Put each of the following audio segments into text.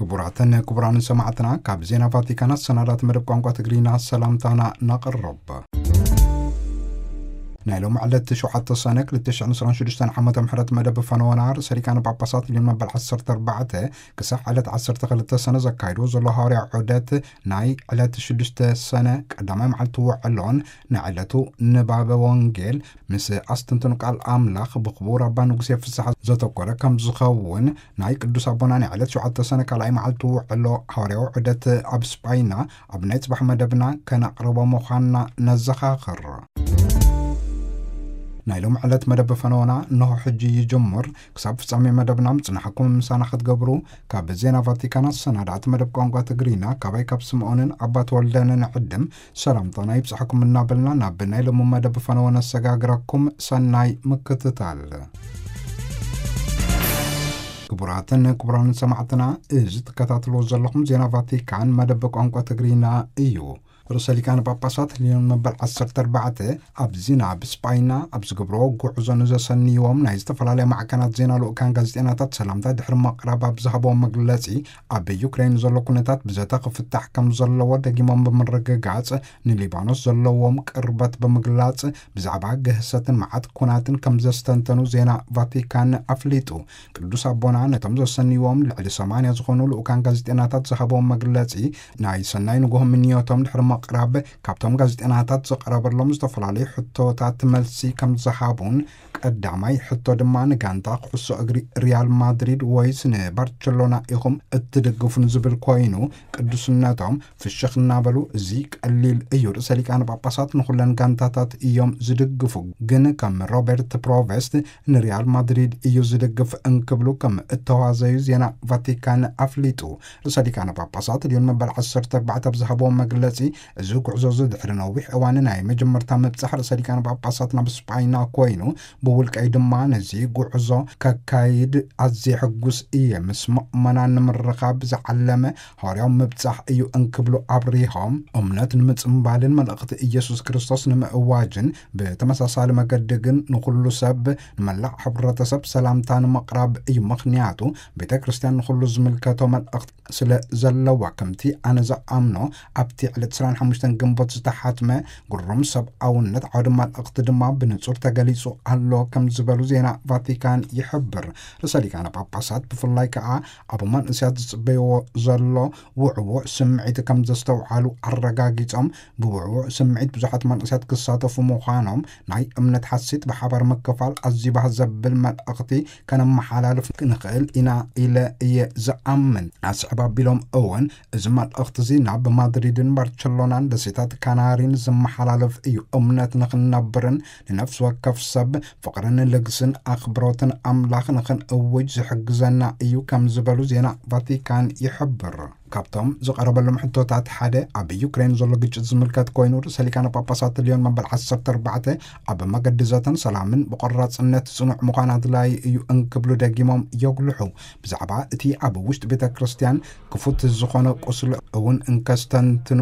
ክቡራትን ክቡራንን ሰማዕትና፣ ካብ ዜና ቫቲካን ኣሰናዳት መደብ ቋንቋ ትግርኛ ሰላምታና ነቕርብ። ናይ ሎም ዕለት ሸውዓተ ሰነ ክልተ ሽሕን ዕስራን ሽዱሽተን ዓመተ ምሕረት መደብ ፈነወና ርእሰ ሊቃነ ጳጳሳት ሊዮን መበል ዓሰርተ ኣርባዕተ ክሳብ ዕለት ዓሰርተ ክልተ ሰነ ዘካይድዎ ዘሎ ሃዋርያ ዑደት፣ ናይ ዕለት ሽዱሽተ ሰነ ቀዳማይ መዓልቲ ውዕሎን ናይ ዕለቱ ንባበ ወንጌል ምስ ኣስተንትኑ ቃል ኣምላኽ ብክቡር ኣባ ንጉሴ ፍስሓ ዘተኮረ ከም ዝኸውን ናይ ቅዱስ ኣቦና ናይ ዕለት ሸውዓተ ሰነ ካልኣይ መዓልቲ ውዕሎ ሃዋርያዊ ዑደት ኣብ ስጳይና ኣብ ናይ ጽባሕ መደብና ከነቕርቦ ምዃንና ነዘኻኽር። ናይ ሎም ዕለት መደብ ፈነወና እንሆ ሕጂ ይጅምር። ክሳብ ፍጻሜ መደብና ምጽናሕኩም ምሳና ክትገብሩ ካብ ዜና ቫቲካን ኣሰናዳእቲ መደብ ቋንቋ ትግርኛ ካባይ ካብ ስምዖንን ኣባት ወልደንን ዕድም ሰላምታና ይብጻሕኩም እናበልና ናብ ናይ ሎሚ መደብ ፈነወ ነሰጋግረኩም። ሰናይ ምክትታል። ክቡራትን ክቡራንን ሰማዕትና፣ እዚ ትከታተልዎ ዘለኹም ዜና ቫቲካን መደብ ቋንቋ ትግርኛ እዩ። ርእሰ ሊቃነ ጳጳሳት ሊዮን መበል ዓሰርተ ኣርባዕተ ኣብዚ ናብ ስጳይና ኣብ ዝገብርዎ ጉዕዞ ንዘሰንይዎም ናይ ዝተፈላለያ ማዕከናት ዜና ልኡካን ጋዜጠኛታት ሰላምታ ድሕሪ ምቕራብ ኣብ ዝሃብዎ መግለጺ፣ ኣብ ዩክሬን ዘሎ ኩነታት ብዘተ ክፍታሕ ከም ዘለዎ ደጊሞም ብምርግጋጽ፣ ንሊባኖስ ዘለዎም ቅርበት ብምግላጽ፣ ብዛዕባ ግህሰትን መዓት ኩናትን ከም ዘስተንተኑ ዜና ቫቲካን ኣፍሊጡ። ቅዱስ ኣቦና ነቶም ዘሰንይዎም ልዕሊ ሰማንያ ዝኾኑ ልኡካን ጋዜጠኛታት ዝሃብዎም መግለጺ፣ ናይ ሰናይ ንግሆ ምንዮቶም ድሕሪ ምቕራብ፣ ካብቶም ጋዜጠኛታት ዝቐረበሎም ዝተፈላለዩ ሕቶታት መልሲ ከም ዝሃቡን፣ ቀዳማይ ሕቶ ድማ ንጋንታ ኩዕሶ እግሪ ሪያል ማድሪድ ወይስ ንባርቸሎና ኢኹም እትድግፉ ንዝብል ኮይኑ፣ ቅዱስነቶም ፍሽኽ እናበሉ፣ እዚ ቀሊል እዩ፣ ርእሰ ሊቃነ ጳጳሳት ንኹለን ጋንታታት እዮም ዝድግፉ፣ ግን ከም ሮበርት ፕሮቨስት ንሪያል ማድሪድ እዩ ዝድግፍ እንክብሉ ከም እተዋዘዩ ዜና ቫቲካን ኣፍሊጡ። ርእሰ ሊቃነ ጳጳሳት ሊዮን መበል ዓሰርተ ኣርባዕተ ኣብ ዝሃብዎ መግለጺ፣ እዚ ጉዕዞ እዚ ድሕሪ ነዊሕ እዋን ናይ መጀመርታ ምብጻሕ ርእሰ ሊቃነ ጳጳሳት ናብ ስጳይና ኮይኑ፣ ብውልቀይ ድማ ነዚ ጉዕዞ ከካይድ ኣዝየ ሕጉስ እየ። ምስ ምእመናን ንምርኻብ ዝዓለመ ሃዋርያዊ ምብጻሕ እዩ እንክብሉ ኣብሪሆም፣ እምነት ንምጽምባልን መልእኽቲ ኢየሱስ ክርስቶስ ንምእዋጅን ብተመሳሳሊ መገዲ ግን ንኹሉ ሰብ፣ ንመላእ ሕብረተሰብ ሰላምታ ንምቕራብ እዩ። ምኽንያቱ ቤተ ክርስቲያን ንኹሉ ዝምልከቶ መልእኽቲ ስለ ዘለዋ፣ ከምቲ ኣነ ዝኣምኖ ኣብቲ ዕለት ዕስራን ሓሙሽተን ግንቦት ዝተሓትመ ግሩም ሰብኣውነት ዓውዲ መልእኽቲ ድማ ብንጹር ተገሊጹ ኣሎ ከም ዝበሉ ዜና ቫቲካን ይሕብር። ርእሰ ሊቃነ ጳጳሳት ብፍላይ ከኣ ኣብ መንእሰያት ዝጽበይዎ ዘሎ ውዕዉዕ ስምዒት ከም ዘስተውዓሉ ኣረጋጊጾም፣ ብውዕዉዕ ስምዒት ብዙሓት መንእሰያት ክሳተፉ ምዃኖም፣ ናይ እምነት ሓሴት ብሓባር ምክፋል ኣዝዩ ባህ ዘብል መልእኽቲ ከነመሓላልፍ ንኽእል ኢና ኢለ እየ ዝኣምን። ኣስዕብ ኣቢሎም እውን፣ እዚ መልእኽቲ እዚ ናብ ማድሪድን ባርቸሎናን ደሴታት ካናሪን ዝመሓላለፍ እዩ። እምነት ንኽንነብርን ንነፍሲ ወከፍ ሰብ ፍቕርን ልግስን ኣኽብሮትን ኣምላኽ ንኽንእውጅ ዝሕግዘና እዩ ከም ዝበሉ ዜና ቫቲካን ይሕብር። ካብቶም ዝቐረበሎም ሕቶታት ሓደ ኣብ ዩክሬን ዘሎ ግጭት ዝምልከት ኮይኑ፣ ርእሰ ሊቃነ ጳጳሳት ሊዮን መበል ዓሰርተ ኣርባዕተ ኣብ መገዲ ዘተን ሰላምን ብቆራጽነት ጽኑዕ ምዃን ኣድላዪ እዩ እንክብሉ ደጊሞም የጉልሑ። ብዛዕባ እቲ ኣብ ውሽጢ ቤተ ክርስቲያን ክፉት ዝኾነ ቁስሊ እውን እንከስተንትኑ፣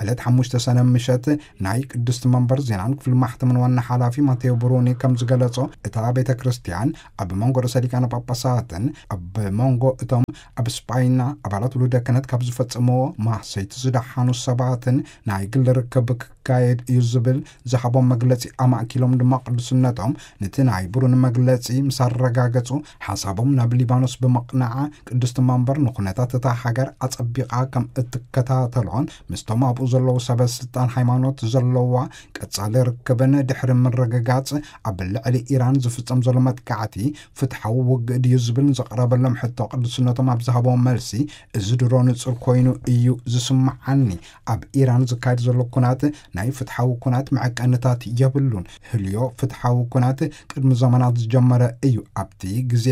ዕለት ሓሙሽተ ሰነ ምሸት ናይ ቅድስቲ መንበር ዜናን ክፍሊ ማሕተምን ዋና ሓላፊ ማቴዎ ብሩኒ ከም ዝገለጾ፣ እታ ቤተ ክርስቲያን ኣብ መንጎ ርእሰ ሊቃነ ጳጳሳትን ኣብ መንጎ እቶም ኣብ ስጳይና ኣባላት ውሉደ ክህነት ካብ ዝፈጸምዎ ማህሰይቲ ዝደሓኑ ሰባትን ናይ ግሊ ርክብ ክካየድ እዩ ዝብል ዝሃቦም መግለጺ ኣማእኪሎም ድማ፣ ቅዱስነቶም ነቲ ናይ ብሩኒ መግለጺ ምስ ኣረጋገጹ፣ ሓሳቦም ናብ ሊባኖስ ብምቕናዓ፣ ቅድስቲ መንበር ንኩነታት እታ ሃገር ኣጸቢቓ ከም እትከታተሎን ምስቶም ኣብኡ ዘለዉ ሰበ ስልጣን ሃይማኖት ዘለዋ ቀጻሊ ርክብን ድሕሪ ምርግጋጽ፣ ኣብ ልዕሊ ኢራን ዝፍጸም ዘሎ መጥቃዕቲ ፍትሓዊ ውግእ ድዩ ዝብል ንዘቕረበሎም ሕቶ፣ ቅዱስነቶም ኣብ ዝሃቦም መልሲ፣ እዚ ድሮ ንጹር ኮይኑ እዩ ዝስምዓኒ። ኣብ ኢራን ዝካየድ ዘሎ ኩናት ናይ ፍትሓዊ ኩናት መዐቀንታት የብሉን። ህልዮ ፍትሓዊ ኩናት ቅድሚ ዘመናት ዝጀመረ እዩ። ኣብቲ ግዜ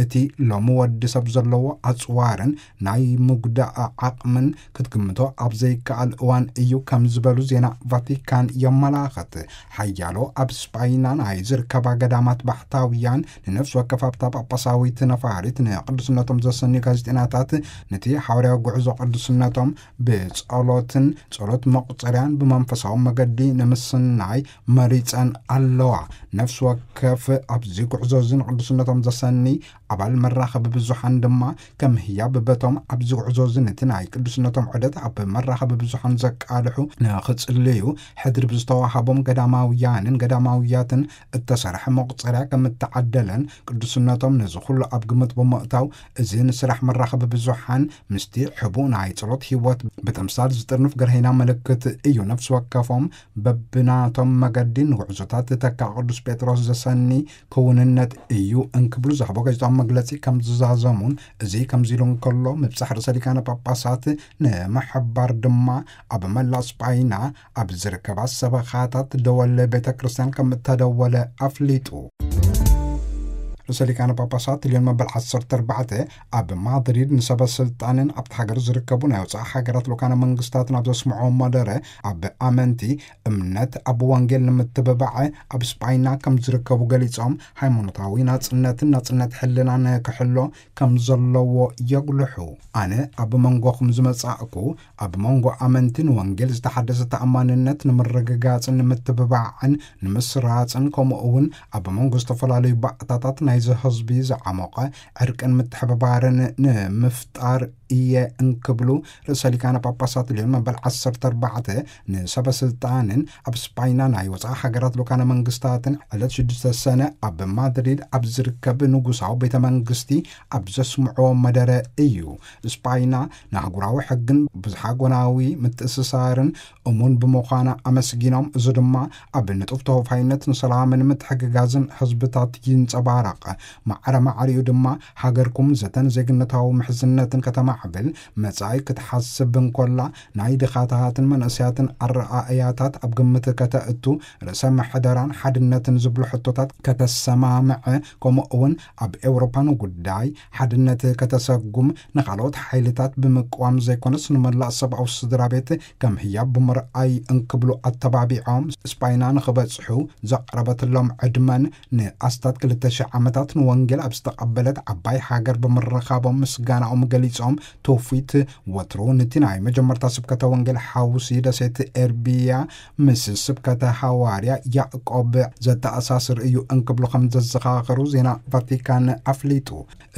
እቲ ሎሚ ወዲ ሰብ ዘለዎ ኣጽዋርን ናይ ምጉዳእ ዓቕምን ክትግምቶ ኣብ ዘይከኣል እዋን እዩ ከም ዝበሉ ዜና ቫቲካን የመላኽት። ሓያሎ ኣብ ስጳይና ናይ ዝርከባ ገዳማት ባሕታውያን ንነፍሲ ወከፍ ኣብታ ጳጳሳዊት ነፋሪት ንቅዱስነቶም ዘሰንዩ ጋዜጠኛታት ነቲ ሓዋርያዊ ጉዕዞ ቅዱስነቶም ብጸሎትን ጸሎት መቁጸርያን ብመንፈሳዊ መገዲ ንምስናይ መሪጸን ኣለዋ። ነፍሲ ወከፍ ኣብዚ ጉዕዞ እዚ ንቅዱስነቶም ዘሰኒ ኣባል መራኸቢ ብዙሓን ድማ ከም ህያብ በቶም ኣብዚ ጉዕዞ እዚ ነቲ ናይ ቅዱስነቶም ዑደት ኣብ መራኸቢ ብዙሓን ዘቃልሑ ንኽጽልዩ ሕድሪ ብዝተዋሃቦም ገዳማውያንን ገዳማውያትን እተሰርሐ መቑጸርያ ከም እተዓደለን ቅዱስነቶም ነዚ ኩሉ ኣብ ግምት ብምእታው እዚ ንስራሕ መራኸቢ ብዙሓን ምስቲ ሕቡእ ናይ ጸሎት ህይወት ብተምሳል ዝጥርንፍ ገርሀይና ምልክት እዩ። ነፍሲ ወከፎም በብናቶም መገዲ ንጉዕዞታት ተካ ቅዱስ ጴጥሮስ ዘሰኒ ክውንነት እዩ እንክብሉ ዝሃቦ ጋዜጣዊ መግለጺ ከም ዝዛዘሙን እዚ ከምዚ ኢሉ እንከሎ ምብጻሕ ርእሰ ሊቃነ ጳጳሳት ንምሕባር ድማ ኣብ መላእ ስጳይና ኣብ ዝርከባ ሰበኻታት ደወል ቤተ ክርስቲያን ከም እተደወለ ኣፍሊጡ። ርእሰ ሊቃነ ጳጳሳት ሊዮን መበል ዓሰርተ ኣርባዕተ ኣብ ማድሪድ ንሰበ ስልጣንን ኣብቲ ሃገር ዝርከቡ ናይ ወፃኢ ሃገራት ልኡካነ መንግስታትን ኣብ ዘስምዖ መደረ ኣብ ኣመንቲ እምነት ኣብ ወንጌል ንምትብባዕ ኣብ ስጳይና ከም ዝርከቡ ገሊጾም ሃይማኖታዊ ናጽነትን ናጽነት ሕልናን ክሕሎ ከም ዘለዎ የጉልሑ። ኣነ ኣብ መንጎኹም ዝመጻእኩ ኣብ መንጎ ኣመንትን ወንጌል ዝተሓደሰ ተኣማንነት ንምርግጋጽን ንምትብባዕን ንምስራጽን ከምኡ እውን ኣብ መንጎ ዝተፈላለዩ ባእታታት ናይዚ ህዝቢ ዝዓሞቐ ዕርቅን ምትሕብባርን ንምፍጣር እየ እንክብሉ ርእሰ ሊቃነ ጳጳሳት ሊዮን መበል ዓሰርተ ኣርባዕተ ንሰበ ስልጣንን ኣብ ስጳይና ናይ ወፃኢ ሃገራት ልኡካነ መንግስታትን ዕለት ሽዱሽተ ሰነ ኣብ ማድሪድ ኣብ ዝርከብ ንጉሳዊ ቤተ መንግስቲ ኣብ ዘስምዕዎ መደረ እዩ። ስጳይና ንኣህጉራዊ ሕግን ብዝሓጎናዊ ምትእስሳርን እሙን ብምዃና ኣመስጊኖም፣ እዚ ድማ ኣብ ንጡፍ ተወፋይነት ንሰላምን ምትሕግጋዝን ህዝብታት ይንጸባረቕ። ማዕረ ማዕሪኡ ድማ ሃገርኩም ዘተን ዜግነታዊ ምሕዝነትን ከተማዕብል መጻኢ ክትሓስብ እንኮላ ናይ ድኻታትን መንእሰያትን ኣረኣእያታት ኣብ ግምት ከተእቱ ርእሰ ምሕደራን ሓድነትን ዝብሉ ሕቶታት ከተሰማምዐ ከምኡ እውን ኣብ ኤውሮፓ ንጉዳይ ሓድነት ከተሰጉም ንኻልኦት ሓይልታት ብምቅዋም ዘይኮነስ ንመላእ ሰብኣዊ ስድራ ቤት ከም ህያብ ብምርኣይ እንክብሉ ኣተባቢዖም ስጳይና ንኽበጽሑ ዘቕረበትሎም ዕድመን ንኣስታት ክልተ ሽሕ ዓመታት ንወንጌል ኣብ ዝተቐበለት ዓባይ ሃገር ብምርኻቦም ምስጋናኦም ገሊጾም ትውፊት ወትሩ ነቲ ናይ መጀመርታ ስብከተ ወንጌል ሓውሲ ደሴት ኤርቢያ ምስ ስብከተ ሃዋርያ ያዕቆብ ዘተኣሳስር እዩ እንክብሉ ከም ዘዘኻኸሩ ዜና ቫቲካን ኣፍሊጡ።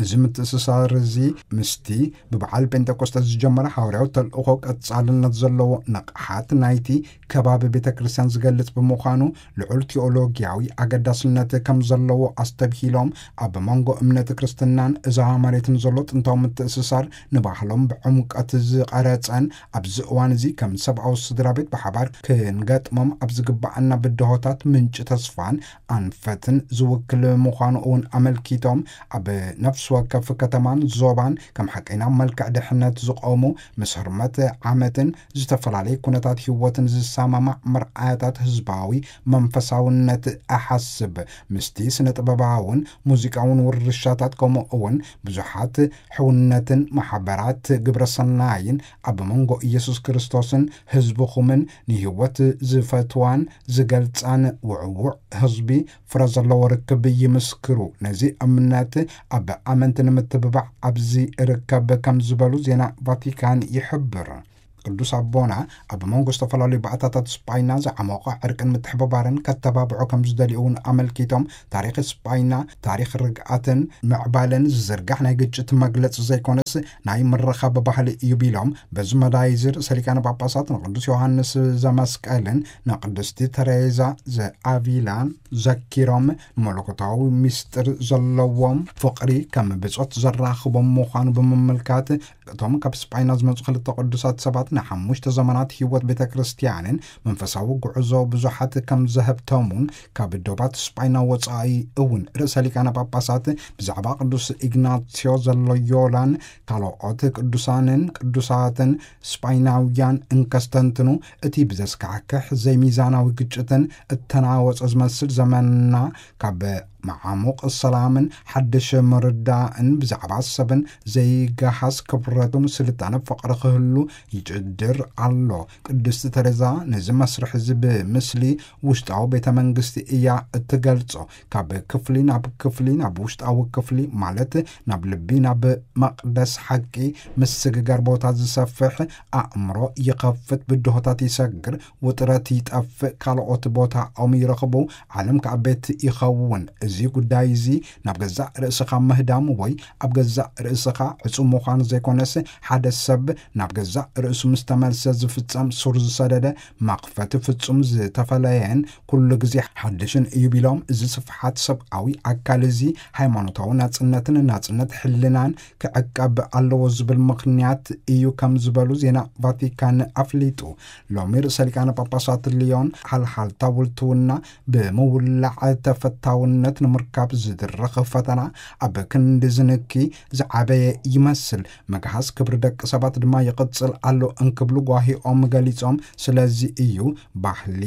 እዚ ምትእስሳር እዚ ምስቲ ብበዓል ጴንጠቆስጠ ዝጀመረ ሃዋርያዊ ተልእኾ ቀጻልነት ዘለዎ ንቕሓት ናይቲ ከባቢ ቤተ ክርስቲያን ዝገልጽ ብምዃኑ ልዑል ቴኦሎጊያዊ ኣገዳስነት ከም ዘለዎ ኣስተብሂሎም ኣብ መንጎ እምነት ክርስትናን እዛ መሬትን ዘሎ ጥንታዊ ምትእስሳር ንባህሎም ብዕምቀት ዝቐረጸን ኣብዚ እዋን እዚ ከም ሰብኣዊ ስድራ ቤት ብሓባር ክንገጥሞም ኣብ ዝግባኣና ብድሆታት ምንጪ ተስፋን ኣንፈትን ዝውክል ምዃኑ እውን ኣመልኪቶም ኣብ ነፍሲ ወከፍ ከተማን ዞባን ከም ሓቀይና መልክዕ ድሕነት ዝቆሙ ምስ ህርመት ዓመትን ዝተፈላለዩ ኩነታት ህይወትን ዝሰማማዕ መርኣያታት ህዝባዊ መንፈሳውነት እሓስብ። ምስቲ ስነ ጥበባውን ሙዚቃውን ውርሻታት ከምኡ እውን ብዙሓት ሕውነትን ማሕበራት ግብረ ሰናይን ኣብ መንጎ ኢየሱስ ክርስቶስን ህዝብኹምን ንህይወት ዝፈትዋን ዝገልጻን ውዕዉዕ ህዝቢ ፍረ ዘለዎ ርክብ ይምስክሩ። ነዚ እምነት ኣብ ኣመንቲ ንምትብባዕ ኣብዚ ርከብ ከም ዝበሉ ዜና ቫቲካን ይሕብር። ቅዱስ ኣቦና ኣብ መንጎ ዝተፈላለዩ ባእታታት ስጳይና ዝዓሞቐ ዕርቅን ምትሕብባርን ከተባብዖ ከም ዝደልዩ እውን ኣመልኪቶም ታሪኽ ስጳይና ታሪኽ ርግኣትን ምዕባለን ዝዝርጋሕ ናይ ግጭት መግለጺ ዘይኮነስ ናይ ምርኻብ ባህሊ እዩ ቢሎም በዚ መዳይ እዚ ርእሰ ሊቃነ ጳጳሳት ንቅዱስ ዮሃንስ ዘመስቀልን ንቅድስቲ ተሬዛ ዘኣቪላን ዘኪሮም ንመለኮታዊ ምስጢር ዘለዎም ፍቕሪ ከም ብጾት ዘራኽቦም ምዃኑ ብምምልካት እቶም ካብ ስጳይና ዝመጹ ክልተ ቅዱሳት ሰባት ንሓሙሽተ ዘመናት ህይወት ቤተ ክርስቲያንን መንፈሳዊ ጉዕዞ ብዙሓት ከም ዘህብተሙን ካብ ዶባት ስጳይና ወጻኢ እውን ርእሰ ሊቃነ ጳጳሳት ብዛዕባ ቅዱስ ኢግናስዮ ዘሎዮላን ካልኦት ቅዱሳንን ቅዱሳትን ስጳይናውያን እንከስተንትኑ እቲ ብዘስካሕክሕ ዘይሚዛናዊ ግጭትን እተናወጸ ዝመስል ዘመንና ካብ መዓሙቕ ሰላምን ሓድሽ ምርዳእን ብዛዕባ ሰብን ዘይገሃስ ክብረቱን ስልጣነ ፍቕሪ ክህሉ ይጭድር ኣሎ። ቅድስቲ ተሬዛ ነዚ መስርሕ እዚ ብምስሊ ውሽጣዊ ቤተ መንግስቲ እያ እትገልጾ። ካብ ክፍሊ ናብ ክፍሊ ናብ ውሽጣዊ ክፍሊ ማለት ናብ ልቢ ናብ መቕደስ ሓቂ ምስግጋር ቦታ ዝሰፍሕ ኣእምሮ ይኸፍት፣ ብድሆታት ይሰግር፣ ውጥረት ይጠፍእ፣ ካልኦት ቦታኦም ይረኽቡ፣ ዓለም ከኣ ቤት ይኸውን። እዚ ጉዳይ እዚ ናብ ገዛእ ርእስኻ ምህዳም ወይ ኣብ ገዛእ ርእስኻ ዕጹው ምዃን ዘይኮነስ፣ ሓደ ሰብ ናብ ገዛእ ርእሱ ምስ ተመልሰ ዝፍጸም ሱር ዝሰደደ መኽፈቲ ፍጹም ዝተፈለየን ኩሉ ግዜ ሓድሽን እዩ ቢሎም፣ እዚ ስፍሓት ሰብኣዊ ኣካል እዚ ሃይማኖታዊ ናጽነትን ናጽነት ሕልናን ክዕቀብ ኣለዎ ዝብል ምኽንያት እዩ ከም ዝበሉ ዜና ቫቲካን ኣፍሊጡ። ሎሚ ርእሰ ሊቃነ ጳጳሳት ሊዮን ሓልሓልታ ውልትውና ብምውላዕ ተፈታውነት ንምርካብ ዝድረኽ ፈተና ኣብ ክንዲ ዝንኪ ዝዓበየ ይመስል። መግሃስ ክብሪ ደቂ ሰባት ድማ ይቕጽል ኣሎ እንክብሉ ጓሂኦም ገሊጾም፣ ስለዚ እዩ ባህሊ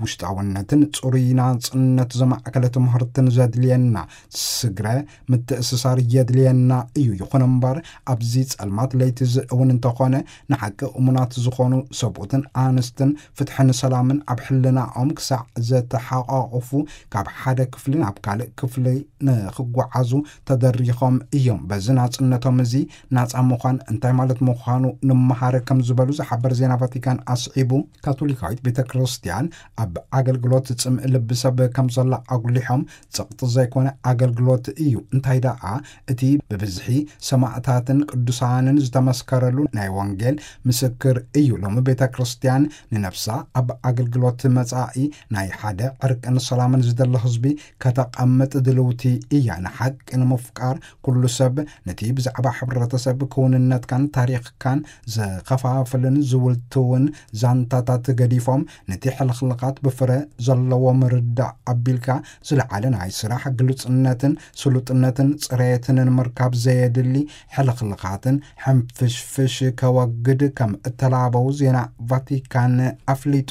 ውሽጣውነትን ጽሩይ ናጽነት ዘማእከለ ትምህርትን ዘድልየና። ስግረ ምትእስሳር የድልየና እዩ። ይኹን እምበር ኣብዚ ጸልማት ለይቲ እዚ እውን እንተኾነ ንሓቂ እሙናት ዝኾኑ ሰብኡትን ኣንስትን ፍትሕን ሰላምን ኣብ ሕልናኦም ክሳዕ ዘተሓቋቑፉ ካብ ሓደ ክፍሊ ናብ ካልእ ክፍሊ ንኽጓዓዙ ተደሪኾም እዮም። በዚ ናጽነቶም እዚ ናጻ ምዃን እንታይ ማለት ምዃኑ ንምሃር ከም ዝበሉ ዝሓበር ዜና ቫቲካን ኣስዒቡ፣ ካቶሊካዊት ቤተ ክርስቲያን ኣብ ኣገልግሎት ጽምእ ልቢ ሰብ ከም ዘላ ኣጉሊሖም፣ ጽቕጢ ዘይኮነ ኣገልግሎት እዩ። እንታይ ደኣ እቲ ብብዝሒ ሰማእታትን ቅዱሳንን ዝተመስከረሉ ናይ ወንጌል ምስክር እዩ። ሎሚ ቤተ ክርስቲያን ንነፍሳ ኣብ ኣገልግሎት መጻኢ ናይ ሓደ ዕርቅን ሰላምን ዝደሊ ህዝቢ ከተቐምጥ ድልውቲ እያ። ንሓቂ ንምፍቃር ኩሉ ሰብ ነቲ ብዛዕባ ሕብረተሰብ ክውንነትካን ታሪኽካን ዘኸፋፍልን ዝውልትውን ዛንታታት ገዲፎም፣ ነቲ ሕልኽልኻት ብፍረ ዘለዎ ምርዳእ ኣቢልካ ዝለዓለ ናይ ስራሕ ግሉጽነትን ስሉጥነትን ጽሬትን ንምርካብ ዘየድሊ ሕልኽልኻትን ሕንፍሽፍሽ ከወግድ ከም እተላበው ዜና ቫቲካን ኣፍሊጡ።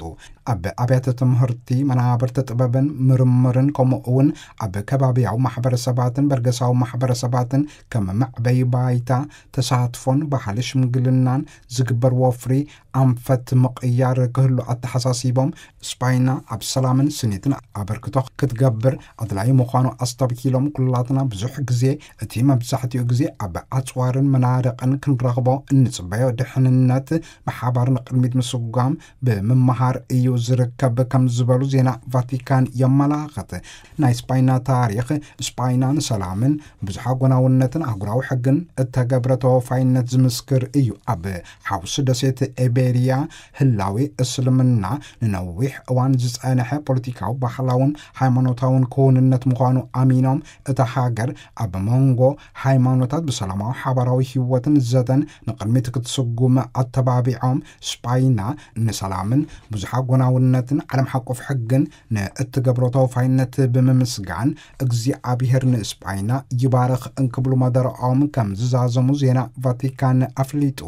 ኣብ ኣብያተ ትምህርቲ፣ መናብርቲ ጥበብን ምርምርን፣ ከምኡ እውን ኣብ ከባቢያዊ ማሕበረሰባትን በርገሳዊ ማሕበረሰባትን ከም መዕበይ ባይታ፣ ተሳትፎን ባህሊ ሽምግልናን ዝግበር ወፍሪ ኣንፈት ምቕያር ክህሉ ኣተሓሳሲቦም፣ ስጳይና ኣብ ሰላምን ስኒትን ኣበርክቶ ክትገብር ኣድላዪ ምዃኑ ኣስተብሂሎም፣ ኩላትና ብዙሕ ግዜ፣ እቲ መብዛሕትኡ ግዜ ኣብ ኣጽዋርን መናድቕን ክንረኽቦ እንጽበዮ ድሕንነት ብሓባር ንቕድሚት ምስጓም ብምምሃር እዩ ዝርከብ ከም ዝበሉ ዜና ቫቲካን የመላኽት። ናይ ስጳይና ታሪኽ፣ ስጳይና ንሰላምን ብዙሓ ጎናውነትን ኣህጉራዊ ሕግን እተገብረ ተወፋይነት ዝምስክር እዩ። ኣብ ሓውሲ ደሴት ኤቤርያ ህላዌ እስልምና ንነዊሕ እዋን ዝጸንሐ ፖለቲካዊ፣ ባህላውን ሃይማኖታውን ክውንነት ምዃኑ ኣሚኖም፣ እታ ሃገር ኣብ መንጎ ሃይማኖታት ብሰላማዊ ሓባራዊ ህይወትን ዘተን ንቕድሚት ክትስጉም ኣተባቢዖም፣ ስጳይና ንሰላምን ብዙሓ ጎናውነትን ዓለም ሓቆፍ ሕግን ንእትገብሮ ተወፋይነት ብምምስጋን፣ እግዚኣብሔር ንስጳይና ይባርኽ እንክብሉ መደረኦም ከም ዝዛዘሙ ዜና ቫቲካን ኣፍሊጡ።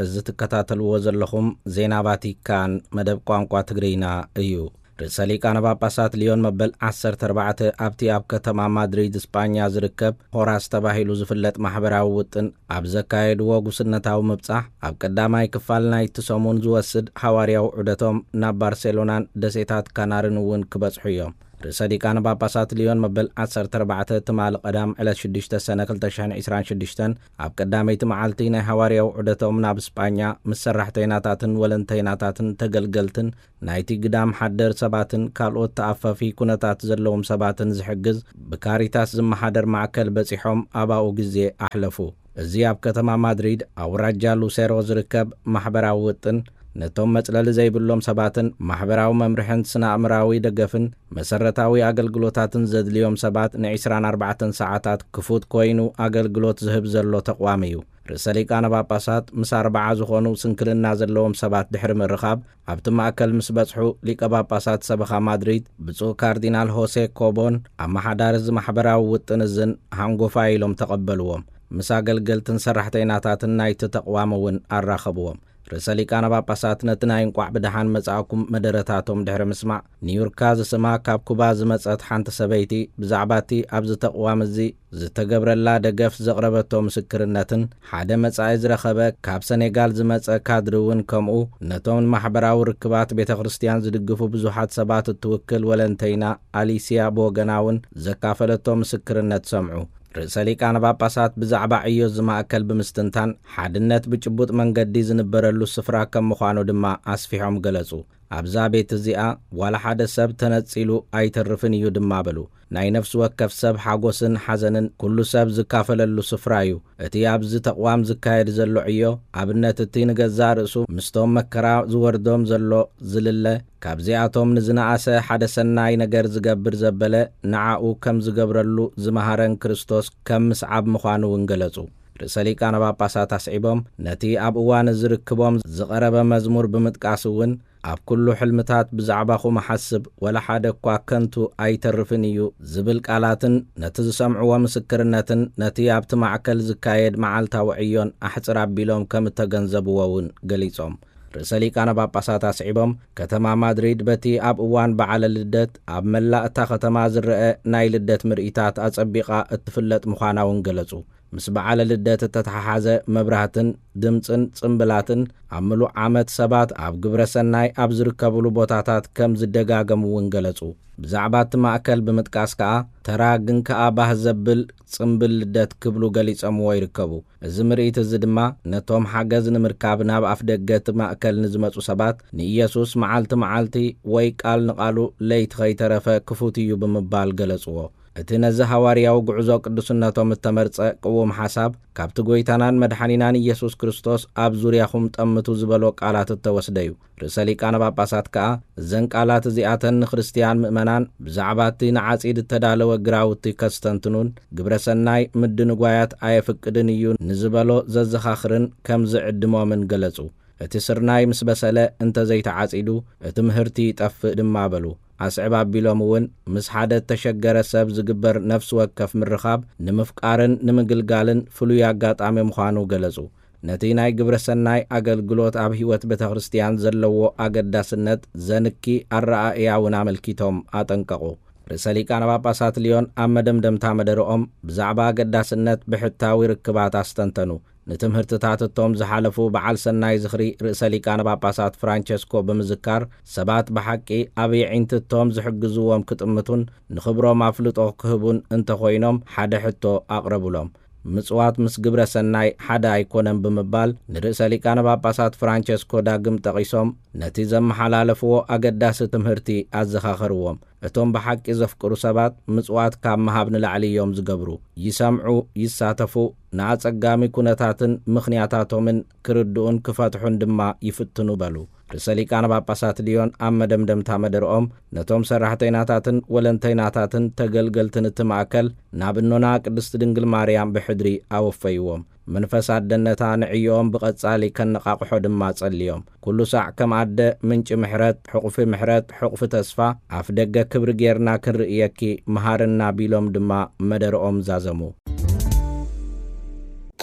እዚ ትከታተልዎ ዘለኹም ዜና ቫቲካን መደብ ቋንቋ ትግርኛ እዩ። ርእሰ ሊቃነ ጳጳሳት ሊዮን መበል ዓሰርተ ኣርባዕተ ኣብቲ ኣብ ከተማ ማድሪድ ስጳኛ ዝርከብ ሆራስ ተባሂሉ ዝፍለጥ ማሕበራዊ ውጥን ኣብ ዘካየድዎ ጉስነታዊ ምብጻሕ፣ ኣብ ቀዳማይ ክፋል ናይቲ ሰሙን ዝወስድ ሃዋርያዊ ዑደቶም ናብ ባርሴሎናን ደሴታት ካናርን እውን ክበጽሑ እዮም። ርእሰ ሊቃነ ጳጳሳት ሊዮን መበል ዓሰርተ ኣርባዕተ ትማሊ ቀዳም ዕለት ሽዱሽተ ሰነ ክልተ ሽሕን ዕስራን ሽዱሽተን ኣብ ቀዳመይቲ መዓልቲ ናይ ሃዋርያዊ ዑደቶም ናብ ስጳኛ ምስ ሰራሕተይናታትን ወለንተይናታትን ተገልገልትን ናይቲ ግዳም ሓደር ሰባትን ካልኦት ተኣፋፊ ኩነታት ዘለዎም ሰባትን ዝሕግዝ ብካሪታስ ዝመሓደር ማእከል በጺሖም ኣባኡ ግዜ ኣሕለፉ። እዚ ኣብ ከተማ ማድሪድ ኣውራጃ ሉሴሮ ዝርከብ ማሕበራዊ ውጥን ነቶም መጽለሊ ዘይብሎም ሰባትን ማሕበራዊ መምርሕን ስነ ኣእምራዊ ደገፍን መሰረታዊ ኣገልግሎታትን ዘድልዮም ሰባት ን ዕስራን ኣርባዕተን ሰዓታት ክፉት ኮይኑ ኣገልግሎት ዝህብ ዘሎ ተቋም እዩ። ርእሰ ሊቃነ ጳጳሳት ምስ ኣርባዓ ዝኾኑ ስንክልና ዘለዎም ሰባት ድሕሪ ምርኻብ ኣብቲ ማእከል ምስ በጽሑ፣ ሊቀ ጳጳሳት ሰበኻ ማድሪድ ብፁዕ ካርዲናል ሆሴ ኮቦን ኣመሓዳሪ እዚ ማሕበራዊ ውጥን እዝን ሃንጎፋ ኢሎም ተቐበልዎም። ምስ ኣገልገልትን ሰራሕተይናታትን ናይቲ ተቕዋም እውን ኣራኸብዎም። ርእሰ ሊቃነ ጳጳሳት ነቲ ናይ እንቋዕ ብደሓን መጻእኩም መደረታቶም ድሕሪ ምስማዕ፣ ኒውርካ ዝስማ ካብ ኩባ ዝመጸት ሓንቲ ሰበይቲ ብዛዕባ እቲ ኣብዚ ተቕዋም እዚ ዝተገብረላ ደገፍ ዘቕረበቶ ምስክርነትን፣ ሓደ መጻኢ ዝረኸበ ካብ ሰኔጋል ዝመጸ ካድሪ እውን ከምኡ፣ ነቶም ንማሕበራዊ ርክባት ቤተ ክርስቲያን ዝድግፉ ብዙሓት ሰባት እትውክል ወለንተይና ኣሊስያ ብወገና እውን ዘካፈለቶ ምስክርነት ሰምዑ። ርእሰ ሊቃነ ጳጳሳት ብዛዕባ ዕዮ እዚ ማእከል ብምስትንታን፣ ሓድነት ብጭቡጥ መንገዲ ዝንበረሉ ስፍራ ከም ምዃኑ ድማ ኣስፊሖም ገለጹ። ኣብዛ ቤት እዚኣ ዋላ ሓደ ሰብ ተነጺሉ ኣይተርፍን እዩ ድማ በሉ። ናይ ነፍሲ ወከፍ ሰብ ሓጎስን ሓዘንን ኩሉ ሰብ ዝካፈለሉ ስፍራ እዩ። እቲ ኣብዚ ተቕዋም ዝካየድ ዘሎ ዕዮ ኣብነት እቲ ንገዛእ ርእሱ ምስቶም መከራ ዝወርዶም ዘሎ ዝልለ ካብዚኣቶም ንዝነኣሰ ሓደ ሰናይ ነገር ዝገብር ዘበለ ንዓኡ ከም ዝገብረሉ ዝመሃረን ክርስቶስ ከም ምስዓብ ምዃኑ እውን ገለጹ። ርእሰ ሊቃነ ጳጳሳት ኣስዒቦም ነቲ ኣብ እዋን ዝርክቦም ዝቐረበ መዝሙር ብምጥቃስ እውን ኣብ ኩሉ ሕልምታት ብዛዕባኹም እሓስብ፣ ወላ ሓደ እኳ ከንቱ ኣይተርፍን እዩ ዝብል ቃላትን ነቲ ዝሰምዕዎ ምስክርነትን ነቲ ኣብቲ ማዕከል ዝካየድ መዓልታዊ ዕዮን ኣሕጽር ኣቢሎም ከም እተገንዘብዎ እውን ገሊጾም። ርእሰ ሊቃነ ጳጳሳት ኣስዒቦም ከተማ ማድሪድ በቲ ኣብ እዋን በዓለ ልደት ኣብ መላእ እታ ከተማ ዝረአ ናይ ልደት ምርኢታት ኣጸቢቓ እትፍለጥ ምዃና እውን ገለጹ። ምስ በዓለ ልደት እተተሓሓዘ መብራህትን ድምጽን ጽምብላትን ኣብ ምሉእ ዓመት ሰባት ኣብ ግብረ ሰናይ ኣብ ዝርከብሉ ቦታታት ከም ዝደጋገሙ እውን ገለጹ። ብዛዕባ እቲ ማእከል ብምጥቃስ ከኣ ተራ ግን ከኣ ባህ ዘብል ጽምብል ልደት ክብሉ ገሊጸምዎ ይርከቡ። እዚ ምርኢት እዚ ድማ ነቶም ሓገዝ ንምርካብ ናብ ኣፍ ደገ እቲ ማእከል ንዝመጹ ሰባት ንኢየሱስ መዓልቲ መዓልቲ ወይ ቃል ንቓሉ ለይቲ ከይተረፈ ክፉት እዩ ብምባል ገለጽዎ። እቲ ነዚ ሃዋርያዊ ጉዕዞ ቅዱስነቶም እተመርጸ ቅዉም ሓሳብ ካብቲ ጐይታናን መድሓኒናን ኢየሱስ ክርስቶስ ኣብ ዙርያኹም ጠምቱ ዝበሎ ቃላት እተወስደ እዩ። ርእሰ ሊቃነ ጳጳሳት ከኣ እዘን ቃላት እዚኣተን ንክርስትያን ምእመናን ብዛዕባ እቲ ንዓጺድ እተዳለወ ግራውቲ ከስተንትኑን ግብረ ሰናይ ምድንጓያት ኣየፍቅድን እዩ ንዝበሎ ዘዘኻኽርን ከም ዝዕድሞምን ገለጹ። እቲ ስርናይ ምስ በሰለ እንተ ዘይተዓጺዱ እቲ ምህርቲ ይጠፍእ ድማ በሉ። ኣስዕብ ኣቢሎም እውን ምስ ሓደ እተሸገረ ሰብ ዝግበር ነፍሲ ወከፍ ምርኻብ ንምፍቃርን ንምግልጋልን ፍሉይ ኣጋጣሚ ምዃኑ ገለጹ። ነቲ ናይ ግብረ ሰናይ ኣገልግሎት ኣብ ህይወት ቤተ ክርስቲያን ዘለዎ ኣገዳስነት ዘንኪ ኣረኣእያ እውን ኣመልኪቶም ኣጠንቀቑ። ርእሰ ሊቃነ ጳጳሳት ሊዮን ኣብ መደምደምታ መደረኦም ብዛዕባ ኣገዳስነት ብሕታዊ ርክባት ኣስተንተኑ። ንትምህርትታት እቶም ዝሓለፉ በዓል ሰናይ ዝኽሪ ርእሰ ሊቃነ ጳጳሳት ፍራንቸስኮ ብምዝካር ሰባት ብሓቂ ኣብ የዒንትቶም ዝሕግዝዎም ክጥምቱን ንኽብሮም ኣፍልጦ ክህቡን እንተኾይኖም ሓደ ሕቶ ኣቕረቡሎም። ምጽዋት ምስ ግብረ ሰናይ ሓደ ኣይኮነን ብምባል ንርእሰ ሊቃነ ጳጳሳት ፍራንቸስኮ ዳግም ጠቒሶም ነቲ ዘመሓላለፍዎ ኣገዳሲ ትምህርቲ ኣዘኻኸርዎም። እቶም ብሓቂ ዘፍቅሩ ሰባት ምጽዋት ካብ ምሃብ ንላዕሊ እዮም ዝገብሩ። ይሰምዑ፣ ይሳተፉ፣ ንኣጸጋሚ ኩነታትን ምኽንያታቶምን ክርድኡን ክፈትሑን ድማ ይፍትኑ በሉ። ርእሰ ሊቃነ ጳጳሳት ሊዮን ኣብ መደምደምታ መደርኦም ነቶም ሰራሕተይናታትን ወለንተይናታትን ተገልገልትን እቲ ማእከል ናብ እኖና ቅድስቲ ድንግል ማርያም ብሕድሪ ኣወፈይዎም። መንፈስ ኣደነታ ንዕዮኦም ብቐጻሊ ከነቓቕሖ ድማ ጸልዮም። ኩሉ ሳዕ ከም ኣደ ምንጪ ምሕረት፣ ሕቑፊ ምሕረት፣ ሕቑፊ ተስፋ፣ ኣፍ ደገ ክብሪ ጌርና ክንርእየኪ መሃርና ቢሎም ድማ መደርኦም ዛዘሙ።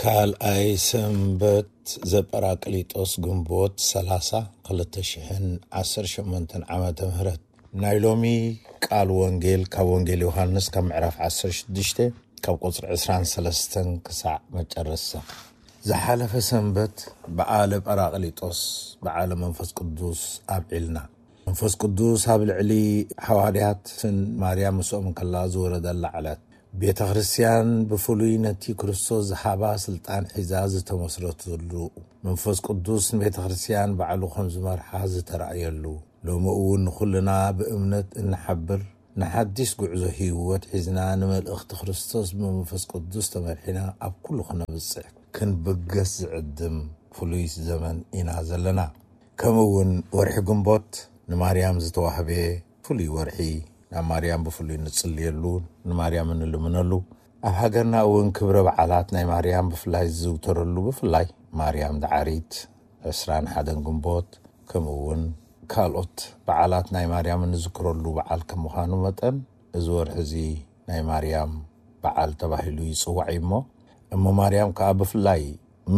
ካልኣይ ሰንበት ዘጳራቅሊጦስ ግንቦት ሰላሳ ክልተ ሽሕን ዓሰርተ ሸሞንተን ዓመተ ምህረት። ናይ ሎሚ ቃል ወንጌል ካብ ወንጌል ዮሃንስ ካብ ምዕራፍ ዓሰርተ ሽዱሽተ ካብ ቁጽሪ ዕስራን ሰለስተን ክሳዕ መጨረስታ። ዝሓለፈ ሰንበት በዓለ ጳራቅሊጦስ በዓለ መንፈስ ቅዱስ ኣብዒልና። መንፈስ ቅዱስ ኣብ ልዕሊ ሓዋርያትን ማርያም ምስኦም እንከላ ዝወረደላ ዕለት። ቤተ ክርስቲያን ብፍሉይ ነቲ ክርስቶስ ዝሃባ ስልጣን ሒዛ ዝተመስረተሉ፣ መንፈስ ቅዱስ ንቤተ ክርስቲያን ባዕሉ ከም ዝመርሓ ዝተራእየሉ፣ ሎሚ እውን ንኹልና ብእምነት እንሓብር ንሓዲስ ጉዕዞ ህይወት ሒዝና ንመልእኽቲ ክርስቶስ ብመንፈስ ቅዱስ ተመርሒና ኣብ ኩሉ ክነብጽሕ ክንብገስ ዝዕድም ፍሉይ ዘመን ኢና ዘለና። ከምኡ እውን ወርሒ ግንቦት ንማርያም ዝተዋህበ ፍሉይ ወርሒ፣ ናብ ማርያም ብፍሉይ ንጽልየሉ፣ ንማርያም እንልምነሉ፣ ኣብ ሃገርና እውን ክብረ በዓላት ናይ ማርያም ብፍላይ ዝዝውተረሉ፣ ብፍላይ ማርያም ደዓሪት ዕስራን ሓደን ግንቦት፣ ከምኡ እውን ካልኦት በዓላት ናይ ማርያም እንዝክረሉ በዓል ከም ምዃኑ መጠን፣ እዚ ወርሒ እዚ ናይ ማርያም በዓል ተባሂሉ ይጽዋዕ እዩ እሞ፣ እሞ ማርያም ከኣ ብፍላይ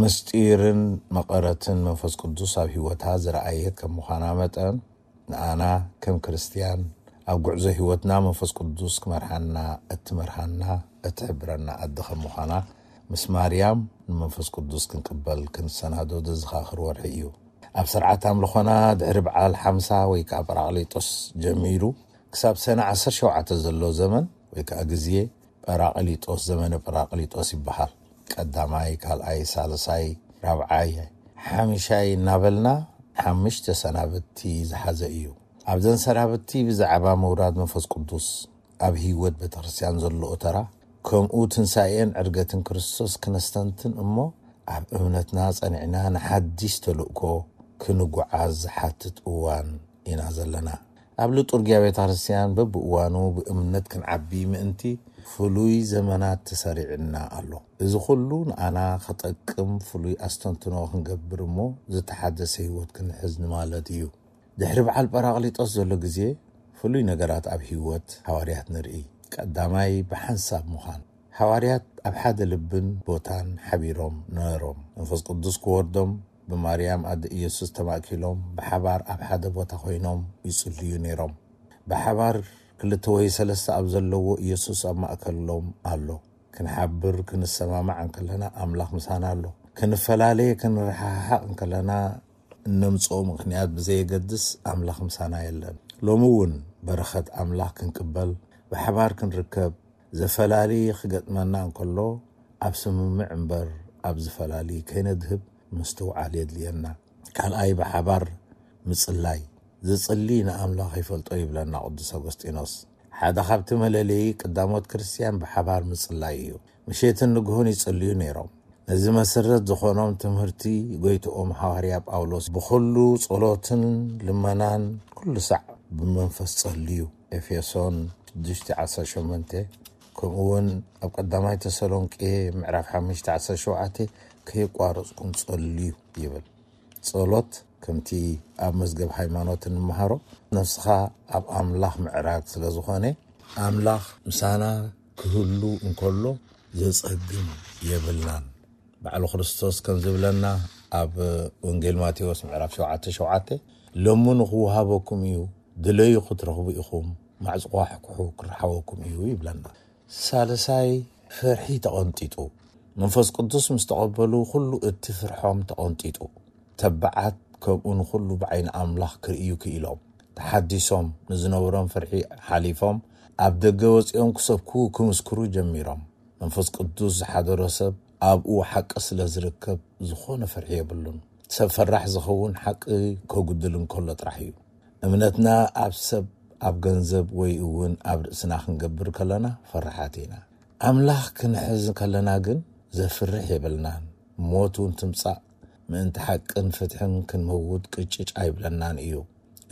ምስጢርን መቐረትን መንፈስ ቅዱስ ኣብ ህይወታ ዝረኣየት ከም ምዃና መጠን፣ ንኣና ከም ክርስትያን ኣብ ጉዕዞ ህይወትና መንፈስ ቅዱስ ክመርሓና እትመርሃና፣ እትሕብረና ኣደ ከም ምዃና፣ ምስ ማርያም ንመንፈስ ቅዱስ ክንቅበል ክንሰናዶ ዘዘኻኽር ወርሒ እዩ። ኣብ ስርዓት ኣምልኾና ድሕሪ በዓል ሓምሳ ወይ ከኣ ጳራቅሊጦስ ጀሚሩ ክሳብ ሰነ ዓሰርተ ሸውዓተ ዘሎ ዘመን ወይ ከኣ ግዜ ጳራቅሊጦስ፣ ዘመነ ጳራቅሊጦስ ይበሃል። ቀዳማይ፣ ካልኣይ፣ ሳልሳይ፣ ራብዓይ፣ ሓምሻይ እናበልና ሓምሽተ ሰናብቲ ዝሓዘ እዩ። ኣብዘን ሰናብቲ ብዛዕባ ምውራድ መንፈስ ቅዱስ፣ ኣብ ህይወት ቤተክርስትያን ዘለዎ ተራ፣ ከምኡ ትንሳኤን ዕርገትን ክርስቶስ ክነስተንትን እሞ፣ ኣብ እምነትና ጸኒዕና ንሓድሽ ተልእኮ ክንጉዓዝ ዝሓትት እዋን ኢና ዘለና። ኣብ ሊጡርጊያ ቤተክርስትያን በብእዋኑ ብእምነት ክንዓቢ ምእንቲ ፍሉይ ዘመናት ተሰሪዕና ኣሎ። እዚ ኩሉ ንኣና ከጠቅም ፍሉይ ኣስተንትኖ ክንገብር እሞ ዝተሓደሰ ህይወት ክንሕዝ ንማለት እዩ። ድሕሪ በዓል ጳራቅሊጦስ ዘሎ ግዜ ፍሉይ ነገራት ኣብ ህይወት ሃዋርያት ንርኢ። ቀዳማይ ብሓንሳብ ምዃን። ሃዋርያት ኣብ ሓደ ልብን ቦታን ሓቢሮም ነበሮም። መንፈስ ቅዱስ ክወርዶም ብማርያም ኣደ ኢየሱስ ተማእኪሎም ብሓባር ኣብ ሓደ ቦታ ኮይኖም ይጽልዩ ነይሮም። ብሓባር ክልተ ወይ ሰለስተ ኣብ ዘለዎ ኢየሱስ ኣብ ማእከሎም ኣሎ። ክንሓብር ክንሰማማዕ እንከለና ኣምላኽ ምሳና ኣሎ። ክንፈላለየ ክንረሓሓቕ እንከለና እነምጽኦ ምኽንያት ብዘየገድስ ኣምላኽ ምሳና የለን። ሎሚ እውን በረኸት ኣምላኽ ክንቅበል ብሓባር ክንርከብ ዘፈላሊ ክገጥመና እንከሎ ኣብ ስምምዕ እምበር ኣብ ዝፈላሊ ከይነድህብ ምስትውዓል የድልየና። ካልኣይ ብሓባር ምጽላይ። ዝጽሊ ንኣምላኽ ይፈልጦ ይብለና ቅዱስ ኣጎስጢኖስ። ሓደ ካብቲ መለለዪ ቀዳሞት ክርስትያን ብሓባር ምጽላይ እዩ። ምሸትን ንግሆን ይጽልዩ ነይሮም። ነዚ መሰረት ዝኾኖም ትምህርቲ ጎይትኦም ሃዋርያ ጳውሎስ ብኹሉ ጸሎትን ልመናን ኩሉ ሳዕ ብመንፈስ ጸልዩ፣ ኤፌሶን ሽዱሽተ ዓሰርተ ሸሞንተ፣ ከምኡ እውን ኣብ ቀዳማይ ተሰሎንቄ ምዕራፍ ሓሙሽተ ዓሰርተ ሸውዓተ ከየቋረጽኩም ጸልዩ ይብል። ጸሎት ከምቲ ኣብ መዝገብ ሃይማኖት እንመሃሮ ነፍስኻ ኣብ ኣምላኽ ምዕራግ ስለ ዝኾነ ኣምላኽ ምሳና ክህሉ እንከሎ ዘጸግም የብልናን። ባዕሉ ክርስቶስ ከም ዝብለና ኣብ ወንጌል ማቴዎስ ምዕራፍ ሸውዓተ ሸውዓተ፣ ለምኑ ክወሃበኩም እዩ፣ ድለዩ ክትረኽቡ ኢኹም፣ ማዕጽዋ ሕኩሑ ክረሓወኩም እዩ ይብለና። ሳልሳይ ፍርሒ ተቐንጢጡ። መንፈስ ቅዱስ ምስ ተቐበሉ ኩሉ እቲ ፍርሖም ተቐንጢጡ። ተባዓት ከምኡ ንኹሉ ብዓይኒ ኣምላኽ ክርእዩ ክኢሎም። ተሓዲሶም ንዝነበሮም ፍርሒ ሓሊፎም ኣብ ደገ ወጺኦም ክሰብኩ ክምስክሩ ጀሚሮም። መንፈስ ቅዱስ ዝሓደሮ ሰብ ኣብኡ ሓቂ ስለ ዝርከብ ዝኾነ ፍርሒ የብሉን። ሰብ ፈራሕ ዝኸውን ሓቂ ከጉድል እንከሎ ጥራሕ እዩ። እምነትና ኣብ ሰብ፣ ኣብ ገንዘብ ወይ እውን ኣብ ርእስና ክንገብር ከለና ፈራሓት ኢና። ኣምላኽ ክንሕዝ ከለና ግን ዘፍርሕ የብልናን። ሞት እውን ትምጻእ ምእንቲ ሓቅን ፍትሕን ክንመውት ቅጭጭ ኣይብለናን እዩ።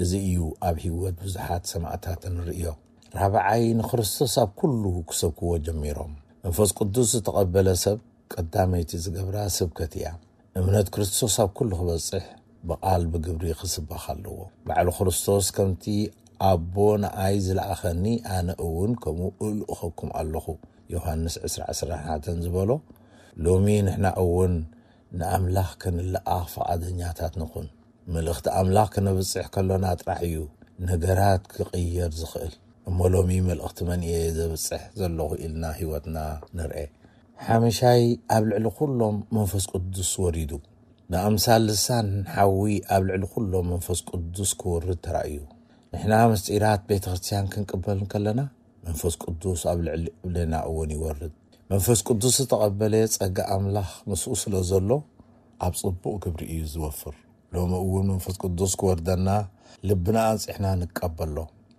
እዚ እዩ ኣብ ህይወት ብዙሓት ሰማእታት እንርእዮ። ራብዓይ ንክርስቶስ ኣብ ኩሉ ክሰብክዎ ጀሚሮም። መንፈስ ቅዱስ ዝተቐበለ ሰብ ቀዳመይቲ ዝገብራ ስብከት እያ። እምነት ክርስቶስ ኣብ ኩሉ ክበጽሕ ብቓል ብግብሪ ክስበኽ ኣለዎ። ባዕሉ ክርስቶስ ከምቲ ኣቦ ንኣይ ዝለኣኸኒ ኣነ እውን ከምኡ እልእኸኩም ኣለኹ፣ ዮሃንስ ዕስራ ዕስራን ሓደን ዝበሎ፣ ሎሚ ንሕና እውን ንኣምላኽ ክንለኣኽ ፍቓደኛታት ንኹን። መልእኽቲ ኣምላኽ ክነብጽሕ ከሎና ጥራሕ እዩ ነገራት ክቕየር ዝኽእል። እሞ ሎሚ መልእኽቲ መን እየ ዘብጽሕ ዘለኹ ኢልና ህይወትና ንርኤ። ሓመሻይ ኣብ ልዕሊ ኩሎም መንፈስ ቅዱስ ወሪዱ። ብኣምሳል ልሳን ሓዊ ኣብ ልዕሊ ኩሎም መንፈስ ቅዱስ ክወርድ ተራእዩ። ንሕና ምስጢራት ቤተ ክርስቲያን ክንቅበል እንከለና መንፈስ ቅዱስ ኣብ ልዕሊ ልዕሌና እውን ይወርድ። መንፈስ ቅዱስ ዝተቐበለ ጸጋ ኣምላኽ ምስኡ ስለ ዘሎ ኣብ ጽቡቕ ግብሪ እዩ ዝወፍር። ሎሚ እውን መንፈስ ቅዱስ ክወርደና ልብና ኣንጺሕና ንቀበሎ።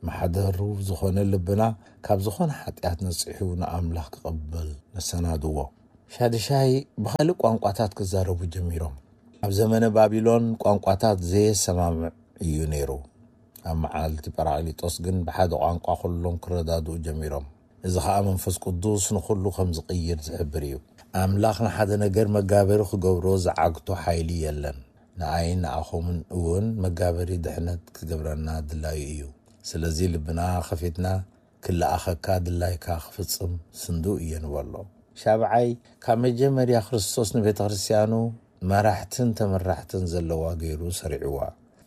ማሕደሩ ዝኾነ ልብና ካብ ዝኾነ ሓጢኣት ነጺሑ ንኣምላኽ ክቕበል ነሰናድዎ። ሻድሻይ ብኻልእ ቋንቋታት ክዛረቡ ጀሚሮም። ኣብ ዘመነ ባቢሎን ቋንቋታት ዘየሰማምዕ እዩ ነይሩ። ኣብ መዓልቲ ጳራቅሊጦስ ግን ብሓደ ቋንቋ ኩሎም ክረዳድኡ ጀሚሮም። እዚ ኸኣ መንፈስ ቅዱስ ንኹሉ ከም ዝቕይር ዝሕብር እዩ። ኣምላኽ ንሓደ ነገር መጋበሪ ክገብሮ ዝዓግቶ ሓይሊ የለን። ንኣይን ንኣኹምን እውን መጋበሪ ድሕነት ክገብረና ድላዩ እዩ። ስለዚ ልብና ኸፊትና ክለኣኸካ ድላይካ ክፍጽም ስንዱ እየ ንበሎ። ሻብዓይ ካብ መጀመርያ ክርስቶስ ንቤተ ክርስቲያኑ መራሕትን ተመራሕትን ዘለዋ ገይሩ ሰሪዕዋ።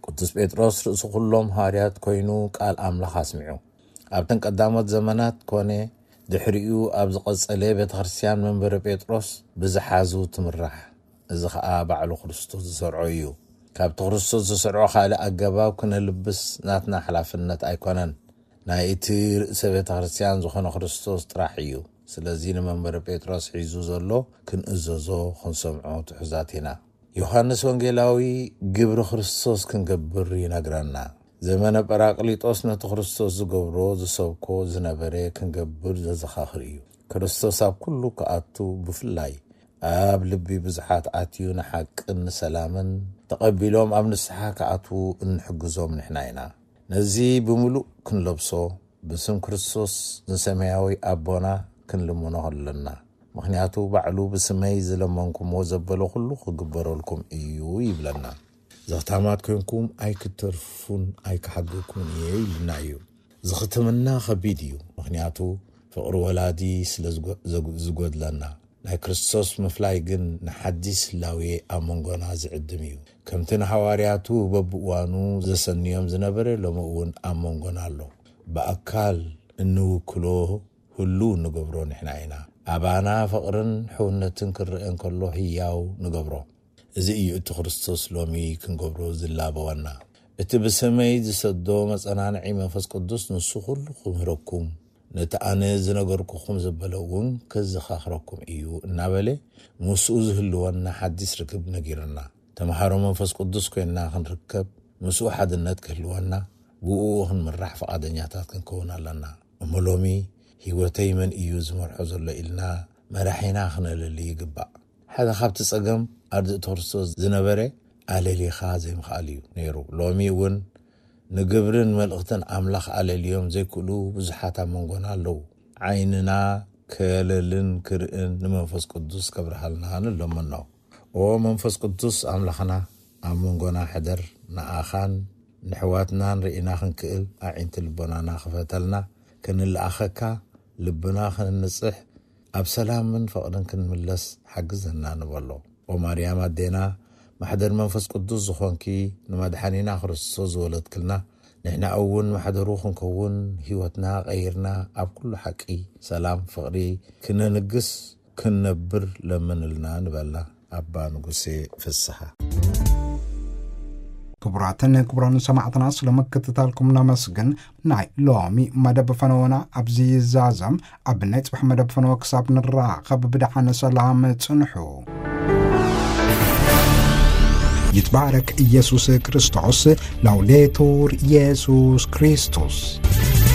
ቅዱስ ጴጥሮስ ርእሲ ኩሎም ሃዋርያት ኮይኑ ቃል ኣምላኽ ኣስሚዑ። ኣብተን ቀዳሞት ዘመናት ኮነ ድሕሪኡ ኣብ ዝቐጸለ ቤተ ክርስቲያን መንበረ ጴጥሮስ ብዝሓዙ ትምራሕ። እዚ ኸኣ ባዕሉ ክርስቶስ ዝሰርዖ እዩ። ካብቲ ክርስቶስ ዝሰርዖ ካልእ ኣገባብ ክነልብስ ናትና ሓላፍነት ኣይኮነን። ናይ እቲ ርእሰ ቤተ ክርስቲያን ዝኾነ ክርስቶስ ጥራሕ እዩ። ስለዚ ንመንበረ ጴጥሮስ ሒዙ ዘሎ ክንእዘዞ ክንሰምዖ ትሑዛት ኢና። ዮሃንስ ወንጌላዊ ግብሪ ክርስቶስ ክንገብር ይነግረና። ዘመነ ጳራቅሊጦስ ነቲ ክርስቶስ ዝገብሮ ዝሰብኮ ዝነበረ ክንገብር ዘዘኻኽር እዩ። ክርስቶስ ኣብ ኩሉ ክኣቱ፣ ብፍላይ ኣብ ልቢ ብዙሓት ኣትዩ ንሓቅን ንሰላምን ተቐቢሎም ኣብ ንስሓ ክኣትዉ እንሕግዞም ንሕና ኢና። ነዚ ብምሉእ ክንለብሶ ብስም ክርስቶስ ንሰማያዊ ኣቦና ክንልምኖ ኣለና። ምኽንያቱ ባዕሉ ብስመይ ዝለመንኩምዎ ዘበለ ኩሉ ክግበረልኩም እዩ ይብለና። ዘኽታማት ኮንኩም ኣይክተርፉን ኣይክሓግኩን እየ ኢልና እዩ። ዝኽትምና ከቢድ እዩ፣ ምኽንያቱ ፍቕሪ ወላዲ ስለ ዝጎ-፣ ዘጉ-፣ ዝጎድለና። ናይ ክርስቶስ ምፍላይ ግን ንሓዲስ ህላዌ ኣብ መንጎና ዝዕድም እዩ። ከምቲ ንሃዋርያቱ በብእዋኑ ዘሰንዮም ዝነበረ ሎሚ እውን ኣብ መንጎና ኣሎ። ብኣካል እንውክሎ ህሉው እንገብሮ ንሕና ኢና። ኣባና ፍቕርን ሕውነትን ክረአ እንከሎ ህያው ንገብሮ። እዚ እዩ እቲ ክርስቶስ ሎሚ ክንገብሮ ዝላበወና። እቲ ብስመይ ዝሰዶ መጸናንዒ መንፈስ ቅዱስ ንሱ ኩሉ ክምህረኩም፣ ነቲ ኣነ ዝነገርኩኹም ዘበለ እውን ከዘኻኽረኩም እዩ እናበለ ምስኡ ዝህልወና ሓዲስ ርክብ ነጊርና። ተምሃሮ መንፈስ ቅዱስ ኮይንና ክንርከብ፣ ምስኡ ሓድነት ክህልወና፣ ብእኡ ክንምራሕ ፍቓደኛታት ክንከውን ኣለና። እሞ ሎሚ ህይወተይ መን እዩ ዝመርሖ ዘሎ ኢልና መራሒና ክነለሊ ይግባእ። ሓደ ካብቲ ጸገም ኣርድእቲ ክርስቶስ ዝነበረ ኣለሊኻ ዘይምኽኣል እዩ ነይሩ። ሎሚ እውን ንግብርን መልእኽትን ኣምላኽ ኣለልዮም ዘይክእሉ ብዙሓት ኣብ መንጎና ኣለዉ። ዓይንና ከለልን ክርእን ንመንፈስ ቅዱስ ከብርሃልና ንለምኖ። ኦ መንፈስ ቅዱስ ኣምላኽና፣ ኣብ መንጎና ሕደር፣ ንኣኻን ንሕዋትናን ርኢና ክንክእል ኣዒንቲ ልቦናና ክፈተልና፣ ክንለኣኸካ ልብና ክንንጽሕ፣ ኣብ ሰላምን ፍቕርን ክንምለስ ሓግዘና ንበሎ። ኦ ማርያም ኣዴና፣ ማሕደር መንፈስ ቅዱስ ዝኾንኪ፣ ንመድሓኒና ክርስቶስ ዝወለድክልና፣ ንሕና እውን ማሕደሩ ክንከውን ህይወትና ቀይርና ኣብ ኩሉ ሓቂ፣ ሰላም፣ ፍቕሪ ክነንግስ ክንነብር ለምንልና ንበላ ኣባ ንጉሴ ፍስሓ። ክቡራትን ክቡራን ሰማዕትና፣ ስለ ምክትታልኩም ነመስግን። ናይ ሎሚ መደብ ፈነወና ኣብዚ ይዛዘም። ኣብ ናይ ጽባሕ መደብ ፈነወ ክሳብ ንራኸብ ብደሓን ሰላም ጽንሑ። ይትባረክ ኢየሱስ ክርስቶስ። ላውዴቱር ኢየሱስ ክርስቶስ።